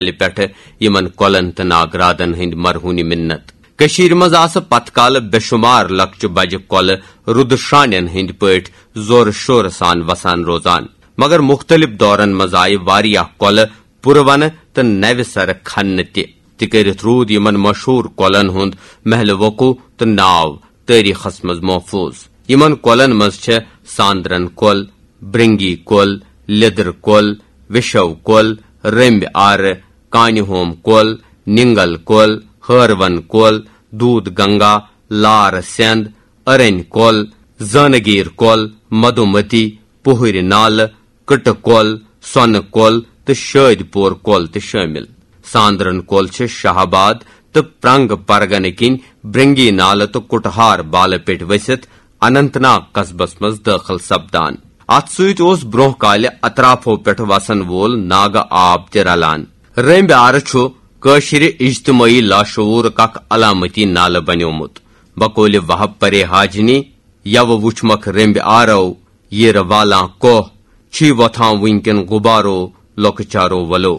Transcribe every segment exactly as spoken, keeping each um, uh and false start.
پٮ۪ٹھٕ یِمن کۄلن تہٕ ناگرادن ہٕنٛدۍ مرہونہِ مِنت۔ کٔشیٖرِ منٛز آسہٕ پتہٕ کالہٕ بے شُمار لۄکچہِ بجہِ کۄلہٕ رُدٕ شانٮ۪ن ہٕنٛدۍ پٲٹھۍ زورٕ شورٕ سان وسان روزان، مگر مُختٔلِف دورن منٛز آیہِ واریاہ کۄلہٕ پُرونہٕ تہٕ نوِ سرٕ کھننہٕ تہِ۔ تہِ کٔرِتھ روٗد یِمن مشہوٗر کۄلن ہُنٛد محلِ وقوع تہٕ ناو تٲریٖخس منٛز محفوٗظ۔ یِمن کۄلن منٛز چھےٚ ساندرن کۄل، برنگی کۄل، لیٚدٕر کۄل، وِشو کۄل، رٔمبۍ آرٕ، کانہِ ہوم کۄل، نِنگل کۄل، ہٲروَن کۄل، دوٗد گنگا، لار سٮ۪نٛد، أرنۍ کۄل، زٲنہٕ گیٖر کۄل، مدھومتی، پُہٕرۍ نالہٕ، کٕٹہٕ کۄل، سۄنہٕ کۄل تہٕ شٲدۍ پور کۄل تہِ شٲمِل۔ ساندرن کۄل چھِ شاہ آباد تہٕ پرنگ پرگنہٕ کِنۍ برنگی نالہٕ تہٕ کُٹہار بالہٕ پٮ۪ٹھ ؤسِتھ اننت ناگ قصبس منٛز دٲخل سپدان۔ اتھ سۭتۍ اوس برونٛہہ کالہِ اطرافو پٮ۪ٹھ وسن وول ناگہٕ آب تہِ رلان۔ رٔمبۍ آرٕ چھُ کٲشرِ اجتمٲعی لاشعورُک اکھ علامتی نالہٕ بنیومُت۔ بقولِ وہب پرے حاجنی، یوٕ وُچھمکھ رٔمبۍ آرو، ییٖرٕ والان کوہ، چھی وۄتھان وٕنکٮ۪ن غُبارو، لۄکچارو ولو۔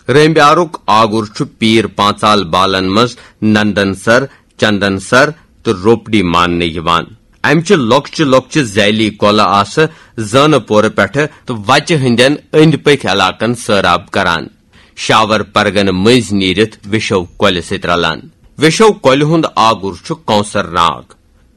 رٔمبۍ آرُک آگُر چھُ پیٖر پانٛژال بالن منٛز نندن سر، چندن سر تہٕ روپڈی ماننہٕ یِوان۔ امہِ چہِ لۄکچہِ لۄکچہِ ذیلی کۄلہٕ آسہٕ زٲنہٕ پورٕ پٮ۪ٹھٕ تہٕ وچہِ ہٕنٛدٮ۪ن أنٛدۍ پٔکھۍ علاقن سٲراب کران۔ شاور پرگنہٕ مٔنٛزۍ نیٖرِتھ وِشو کۄلہِ سۭتۍ رلان۔ وِشو کۄلہِ ہُنٛد آگُر چھُ کونسر ناگ۔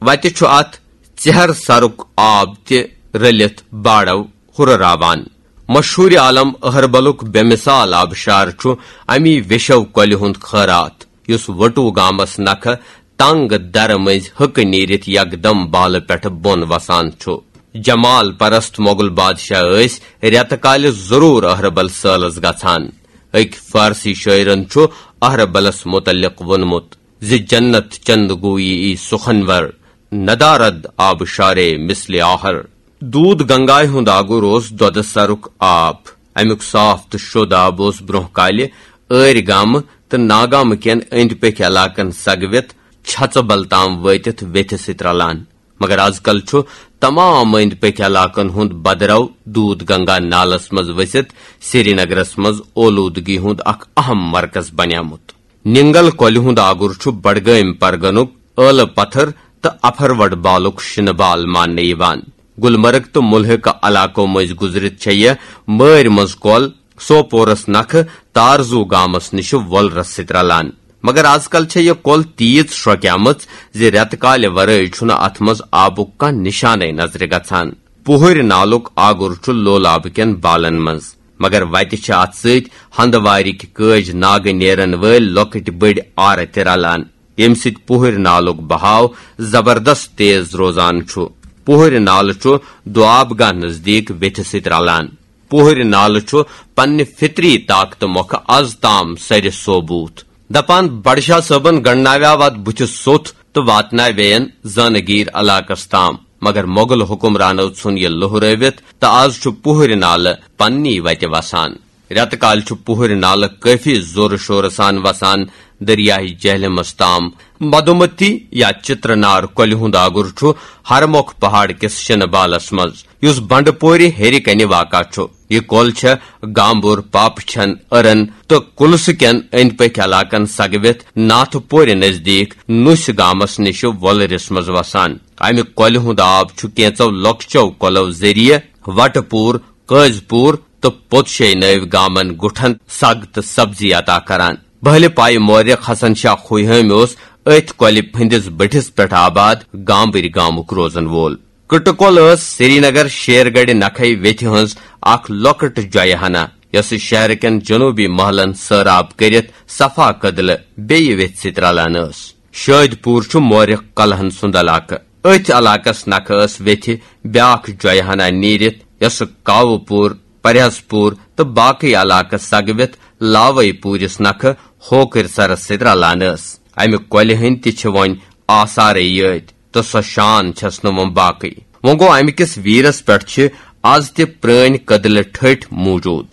وتہِ چھُ اتھ ژیہر سرُک آب تہِ رٔلِتھ باڑو ہُرراوان۔ مشہوٗرِ عالم اہربلُک بے مثال آبشار چھُ امی وِشو کۄلہِ ہُنٛد خٲرات، یُس وٹو گامس نکھٕ تنگ درٕ مٔنٛزۍ ہٕکہٕ نیٖرِتھ یکدم بالہٕ پٮ۪ٹھٕ بۄن وسان چھُ۔ جمال پرست مۄغل بادشاہ ٲسۍ رٮ۪تہٕ کالہِ ضروٗر اہربل سٲلس گژھان۔ أکۍ فارسی شٲعرن چھُ اہربلس مُتعلق ووٚنمُت زِ جنت چند گویی ای سخنور، ندارد آبشارے مثل آہر۔ دوٗد گنگایہِ ہُنٛد آگُر اوس دۄدٕ سرُک آب۔ امیُک صاف تہٕ شوٚد آب اوس برونٛہہ کالہِ ٲرۍ گامہٕ تہٕ ناگامہٕ کٮ۪ن أنٛدۍ پٔکھۍ علاقن سگوِتھ چھژٕ بل تام وٲتِتھ ویتھِ سۭتۍ رلان۔ مگر از کل چھُ تمام أنٛدۍ پٔکھۍ علاقن ہُنٛد بدرو دوٗد گنگا نالس منٛز ؤسِتھ سرینگرس منٛز اولوٗدگی ہُنٛد اکھ اہم مرکز بنیومُت۔ نِنگل کۄلہِ ہُنٛد آگُر چھُ بڈگٲمۍ پرگنُک ٲلہٕ پتھر تہٕ اپھروڑ بالُک شِنہٕ بال ماننہٕ یِوان۔ گلمرگ تہٕ مُلحقہٕ علاقو مٔنٛزۍ گُزرِتھ چھےٚ یہِ مٲرۍ منٛز کۄل سوپورس نکھٕ تارزو گامس نِش وۄلرس سۭتۍ رلان۔ مگر از کل چھےٚ یہِ کۄل تیٖژ شرۄکیمٕژ زِ رٮ۪تہٕ کالہِ ورٲے چھُنہٕ اتھ منٛز آبُک کانٛہہ نشانے نظرِ گژھان۔ پُہٕرۍ نالُک آگُر چھُ لولابہٕ کٮ۪ن بالن منٛز، مگر وتہِ چھِ اتھ سۭتۍ ہندوارِکۍ کٲج ناگہٕ نیرن وٲلۍ لۄکٕٹۍ بٔڑۍ آرٕ تہِ رلان، ییٚمہِ سۭتۍ پُہٕرۍ نالُک بہاو زبردست تیز روزان چھُ۔ پُہٕرۍ نالہٕ چھُ دوآب گاہ نزدیٖک ویتھِ سۭتۍ رلان۔ پُہٕرۍ نالہٕ چھُ پننہِ فطری طاقتہٕ مۄکھٕ از تام سرِ صوبوٗت۔ دپان بڈشاہ صٲبن گنڈناویاو اتھ بُتھِ سوٚتھ تہٕ واتناویین زٲنہٕ گیٖر علاقس تام، مگر مۄغل حُکمرانو ژھُن یہِ لوہرٲوِتھ تہٕ از چھُ پُہٕرۍ نالہٕ پننی وتہِ وسان۔ رٮ۪تہٕ کالہِ چھُ پُہٕرۍ نالہٕ کٲفی زورٕ شورٕ سان وسان دٔریاے جہلمس تام۔ مدھومتی یا چترنار کۄلہِ ہُنٛد آگُر چھُ ہرمۄکھ پہاڑ کِس شِنہٕ بالس منٛز، یُس بنڈٕ پورِ ہیٚرِ کنہِ واقع چھُ۔ یہِ کۄل چھےٚ گامبُر، پاپہٕ چھن، أرن تہٕ کُلسہٕ کٮ۪ن أنٛدۍ پٔکھۍ علاقن سگوِتھ ناتھٕ پورِ نزدیٖک نُسۍ گامس نِش وۄلرِس منٛز وسان۔ امہِ کۄلہِ ہُنٛد آب چھُ کینٛژو لۄکچو کۄلو ذٔریعہٕ وٹہٕ پوٗر، قٲضۍ پوٗر تہٕ پوٚتشے نٲوۍ گامن گُٹھن سگ تہٕ سبزی عطا کران۔ بہلہِ پایہِ مورخ حسن شاہ خوہٲمۍ اوس أتھۍ کۄلہِ ہٕنٛدِس بٔٹھِس پٮ۪ٹھ آباد گامبٕرۍ گامُک روزن وول۔ کٕٹہٕ کۄل ٲس سرینگر شیرگڑھِ نکھے ویتھِ ہٕنٛز اکھ لۄکٕٹ جۄیہِ ہنا، یۄسہٕ شہرٕ کٮ۪ن جنوبی محلن سٲراب کٔرِتھ صفا کدلہٕ بییہِ ویتھِ سۭتۍ رلان ٲس۔ شٲدۍ پوٗر چھُ مورخ کلہن سُنٛد علاقہٕ۔ أتھۍ علاقس نکھٕ ٲس ویتھِ بیاکھ جۄیہِ ہنا نیٖرِتھ، یۄسہٕ کاوٕ پوٗر، پرہیز پوٗر تہٕ باقٕے علاقہٕ سگوِتھ لاوے پوٗرِس نکھٕ ہوکٕرۍ سرس سۭتۍ رلان ٲس۔ امہِ کۄلہِ ہٕنٛدۍ تہِ چھِ وۄنۍ آثارے یٲتۍ تہٕ سۄ شان چھَس نہٕ وۄنۍ باقٕے۔ وۄنۍ گوٚو، امہِ کِس ویٖرس پٮ۪ٹھ چھِ از تہِ پرٛٲنۍ کٔدلہٕ ٹھٔٹھۍ موٗجوٗد۔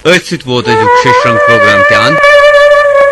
أتھۍ سۭتۍ ووت أزیُک شیٚش رنگ پروگرام تہِ اند۔